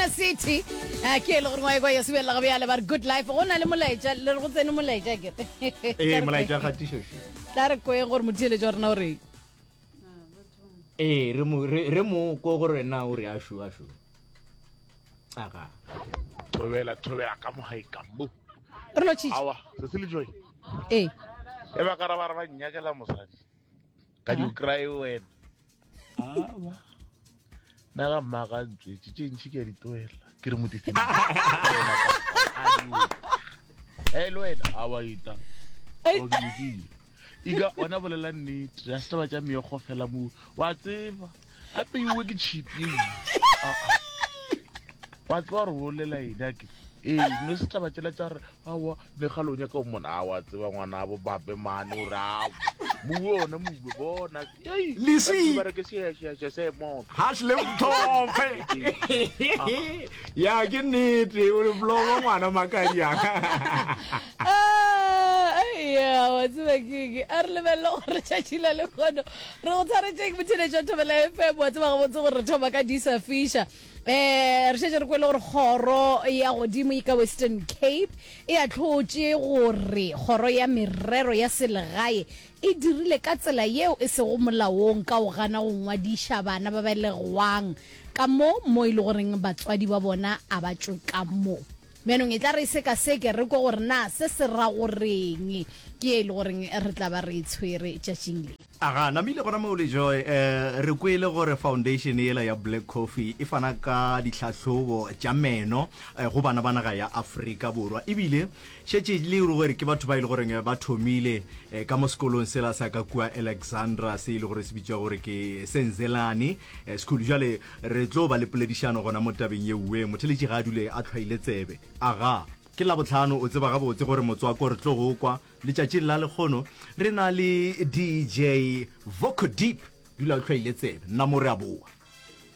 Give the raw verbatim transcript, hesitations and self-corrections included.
Inner City eh, ke e le gore ngwa ekwa ya sebelela ga bjale ba re good life go na le molaetša le re go tsene molaetša kere ee molaetša kgatišo tla re kweng gore motheeletši wa rena o reng ee re mo re re mo ko gore na o re ashu ashu aga thobela thobela ka mogae ka mo re lo tšhitše awa se se le joy ee e ba ka ra ba re ba nnyakela mosadi ka di o kry wena awa nna ga mmaga ntswetse tše ntšhi ke a di toela ke re motiseng e le wena awa ita o ke lokile ika ona bolela nnete ya setaba tša meokgo fela mo wa tseba gape iwe ke tšhipi wa tseba gore bolela eng ake ee no se taba tšela tša gore aowa megalo o nyaka o mona a wa tseba ngwana bo bape mane o re ao moue ona moue bona Leswi. bare ke seašeaša se motho hash le mthophe ya ke nnete o re blogo ngwana makadiaka Ah, ya wa tseba keke a re lebelele gore tšatši la lekgono re go tshwaretšeng motheletši wa thobela fm wa tseba gabotse gore re thoma ka disa fisha um re šetše re kwele gore kgoro ya godimo e ka western cape e ahlotše gore kgoro ya merero ya selegae e dirile ka tsela yeo e sego molaong ka go gana go ngwadiša bana ba belegwang ka mo mo e le goreng batswadi ba bona a ba tšwe ka mo bjanong e tla re sekaseke re kwe gore na se se ra goreng ke e le goreng re tla ba re e tshwere tšatšing le aga namile gona moo le joy um re kwele gore foundation yela ya black coffee e fana ka ditlhahlobo tša meno eh, go bana ba naga ya afrika borwa ebile šetše le gore ke batho ba e le goreng ba thomile eh, ka mo sekolong sela sa ka kua alexandra se e le gore se bitšwa gore ke senzelane eh, school jale re tlo ba le poledišano gona mo tabeng ye uwe motheletši ga a dule a tlhwaile tsebe aga ke labotlhano o tseba gabotse gore motswako re tlo go kwa letšatšing la lekgono re na le dj voco deep dula o tlhwaile tsebe nna mo re a boa